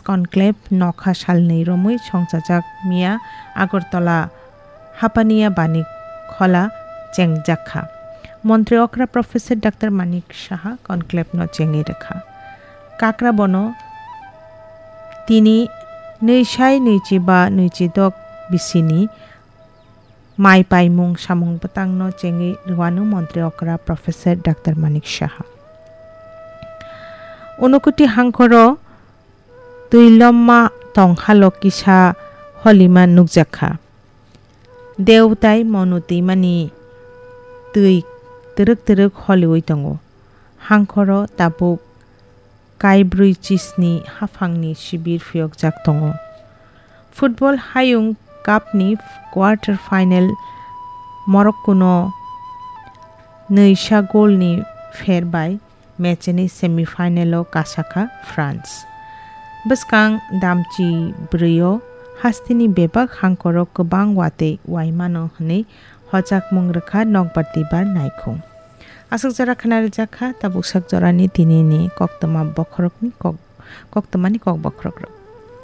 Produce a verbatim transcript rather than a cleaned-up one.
conclave nokha salnwi romwi songchajak miya Agartala Hapania Bani Khola chengjak kha. Montri okra Professor Doctor Manik Saha conclave no chengwi rwkha. Kakra bono tini nwi sai nwichi ba nwichi dok bisini mai paimung samung bwtangno chengwi rwanu montri okra Professor Doctor Manik Saha. Unukoti hangkhoro twi lomma tong halo kisa holima nukjak kha. Deu tai Monu twimani twi twrwk twrwk holiwi tongo. Hangkhoro tabuk kaibrwi chisni haphangni sibir phiyokjak tongo. Football Hayung Cup ni quarter final Morocco no nwisa goal ni pher bai match ni semi final o kasakha France. Bwskang damchi brwi o hasteni bebak hangkhoro kwbang watwi waimano hwnwi hojakmung rwkha nokbar twibar naikhung. Aswk jora khna rijak kha tabuk sak jorani tinini koktwma bokhorokni kok, koktwmani kok bokhorok rok.